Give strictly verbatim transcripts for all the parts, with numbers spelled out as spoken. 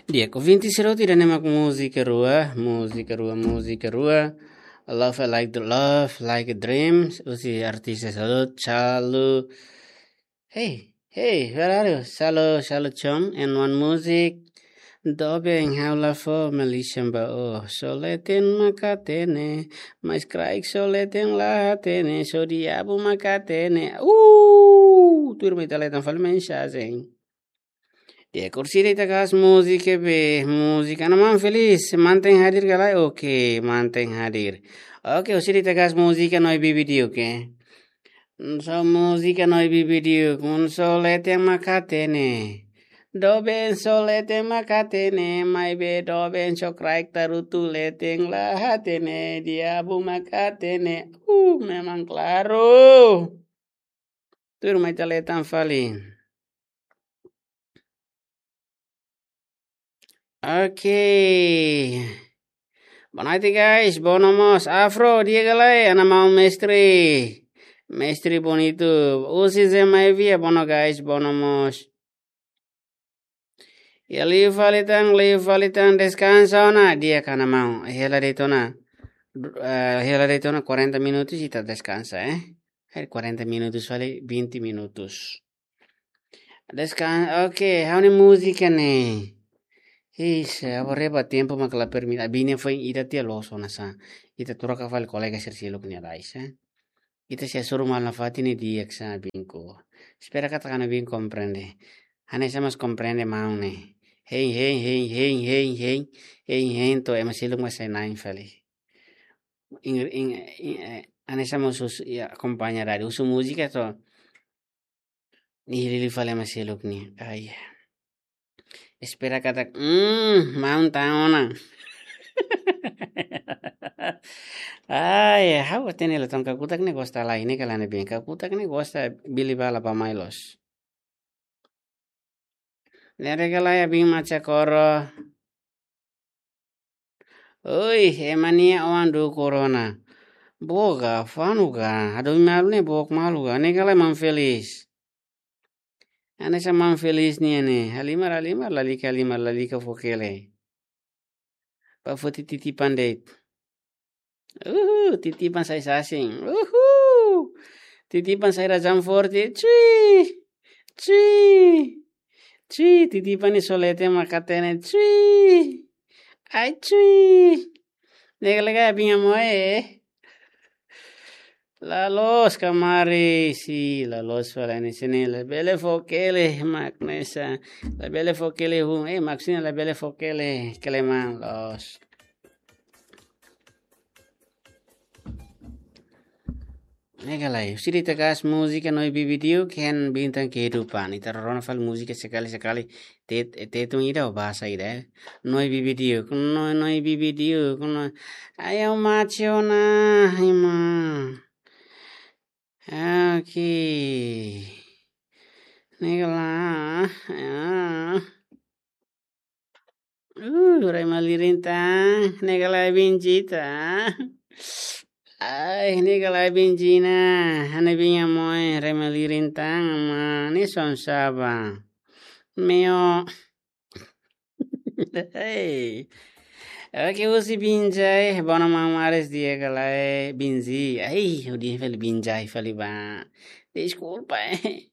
Di'ak, ouvinte sira hotu, ida-ne'e mak múzika rua, múzika rua, múzika rua. Love Like the Love, Like a Dream, husi artis Salo, Salo. Hey, hey, where are you? Salo, Salo Chong, and one music. Doben ha'u la fó malísia ba ó. Só leten mak hatene, mais kraik só leten la hatene, só diabu mak hatene. Uh, tuir mai ita leten fali mensajen. Di'ak, orsida ita kaas múzika be, múzika Ana Maun Felis, mantein hadir ka lae? Oke, mantein hadir. Oke, orsida ita kaas múzika Noe Bibi Diuk, oke. Só múzika Noe Bibi Diuk, un só leten mak hatene. Doben só leten mak hatene, maibé doben só kraik tarutu leten la hatene, diabu mak hatene. Uh, memang klaru. Tuir mai ita leten fali. Oke. Boa noite, guys. Boa no mós. Afro, di'ak ka lae, Ana Maun mestre. Mestre bonito. Husi Zema Evia, boa no, guys. Boa no mós. Iha liu fali tan, liu fali tan, deskansa ona, di'ak Ana Maun. Hela de'it ona. Eh, hela de'it ona quarenta minutos ita deskansa, eh. Hai quarenta minutos fali, vinte minutos. Deskansa, oke, ha'u-nia múzika ne'e. Ih, se aborreba tempu mak la permite. Abin ne'e foin ida tiha loos ona sa. Ita troka fali kolega sira seluk nia rais, eh. Ita sei hasoru malu nafatin ne'e di'ak sa, abinku. Espera katak Ana Maun komprende. Hanesan mós komprende maun ne'e. Hein, hein, hein, hein, hein, hein. Hein, hein, to'o ema seluk mak sai na'in fali. Ing, ing, ing, eh, hanesan mós husu, ya, akompaña rádiu. Husu múzika to'o. Nia hili-hili fali ema seluk ne'e. Ai. Espera katak, mm, maun ta'uk ona. Ai, ha'u hatene la tan kakutak ne'e gosta lai, ne'e ka lae, Ana Maun. Kakutak ne'e gosta bili bala ba mai loos. Ne'e ka lae, abin macha koro. Oi, ema nia oan dukur ona. Boga, fanu ga, hadomi malu ne'e book malu ga, ne'e ka lae Maun Felis. Hanesan Maun Felis nian ne'e, halimar, halimar, lalika, halimar, lalika fokele. Ba foti titipan de'it. Uhu, titipan sai sasin. Uhu. Titipan sai razão forte. Cui. Cui. Cui, titipan ne'e só leten mak hatene. Cui. Ai, cui. Ne'e ka lae, abin Amoe. La loos ka mari, si, la loos fali ne'e sini, labele fokele mak ne'e sa. Labele fokele hun, eh, mak sini labele fokele, keleman loos. Ne'e ka lae, orsida ita kaas múzika Noe Bibi Diuk, hein, Bintang Kehidupan. Ita rona fali múzika sekali-sekali. Tet-, tetun ida ou bahasa ida, eh. Noe Bibi Diuk, noe, Noe Bibi Diuk, noe. Ai, ha'u macha ona, ima. Oke. Ne'e ka lae, ya. Uh, rai malirin tan, ne'e ka lae Binji tan. Ai, ne'e ka lae Binji na, Ana Maun Amoe, rai malirin tan, ma, ne'e son saba. Meo. Hey. Oke, husi Binjai, bono Maun Ares, di'ak ka lae Binji. Ai, hodi fali Binjai fali ba. Deskulpa, eh.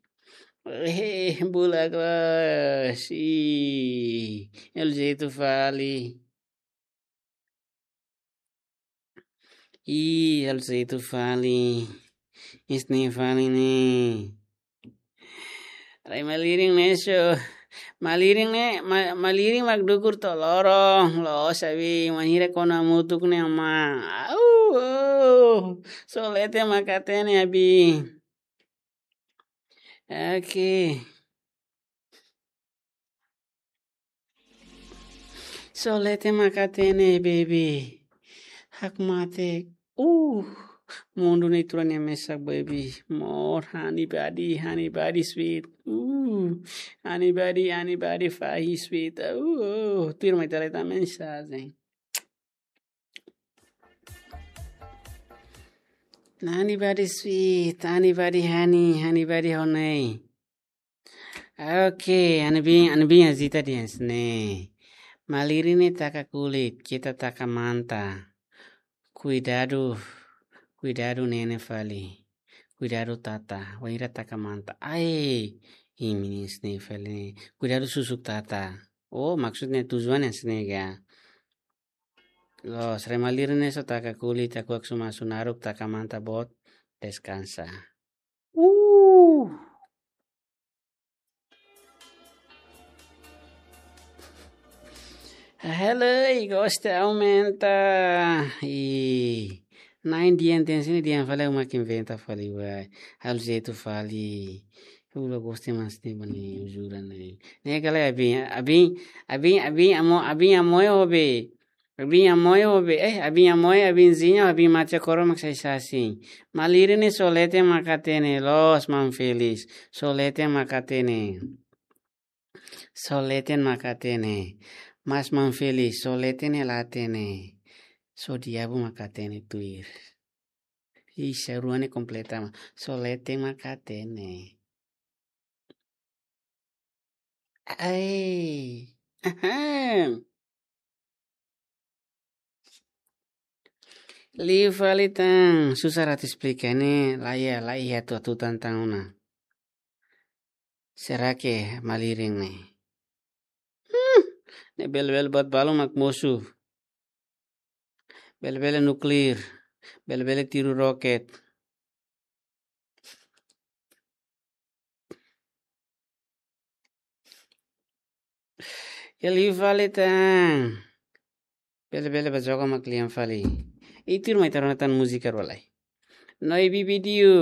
Eh, bula kelas. Ih, halo jeitu fali. Ih, halo jeitu fali. Isne fali ne'e. Rai malirin ne'e so. Malirin ne'e, ma-, malirin mak dukur to'o loron. Loos abi, manhira kona mutuk ne'e ama. Au, au. So leten mak hatene abi. Oke. So leten mak hatene, baby. Hakmatek. Uh, mundu ne'e turan ya mesak, baby. More, honey body, honey body sweet. Uh, honey body, honey body fahi sweet. Uh, tuir mai tale ta mensajen. Honey body sweet, honey body honey, honey body honey. Oke, Ana Maun, Ana Maun, a zita di ens ne. Malirin ne'e taka kulit, keta taka manta. Kuidadu, kuidadu nene fali. Kuidadu tata, wainhira taka manta. Ai, imi ne'e fali. Kuidadu susuk tata. Oh, maksudnya tujuan yang sini ya. Loos, rai malirin ne'e só taka kulit, aku aksu masu naruk, taka manta boot, deskansa. Uh. Hello, i gosta aumenta. I nine dian ten sini dian fali uma que inventa fali vai. Hal jeito fali. Eu não gosto mais de bani jura né. Ne'e kala abin, abin, abin, abin amo, abin amo eu be. Abin amo eu be. Eh, abin amo eu, abin zinha, abin mate koro mak sai sasin. Malirin ne'e só leten mak hatene, loos man Felis. Só leten mak hatene. Só leten mak hatene. Mas man Felis, só leten ne'e la hatene. Só diabu mak hatene tuir. Ih, sarua ne'e kompleta mak. Só leten mak hatene. Ai. Ahem. Liu fali tan, susar atu esplika ne'e, la iha, la iha atu atu tan tan ona. Será que malirin ne'e? Hmm, ne'e bele-bele buat balu mak mosu. Bele-bele nuklir, bele-bele tiru roket. Ya liu fali tan. Bele-bele ba joga mak lian fali. Itu mai tarona tan múzika rolai. No ibi vídeo,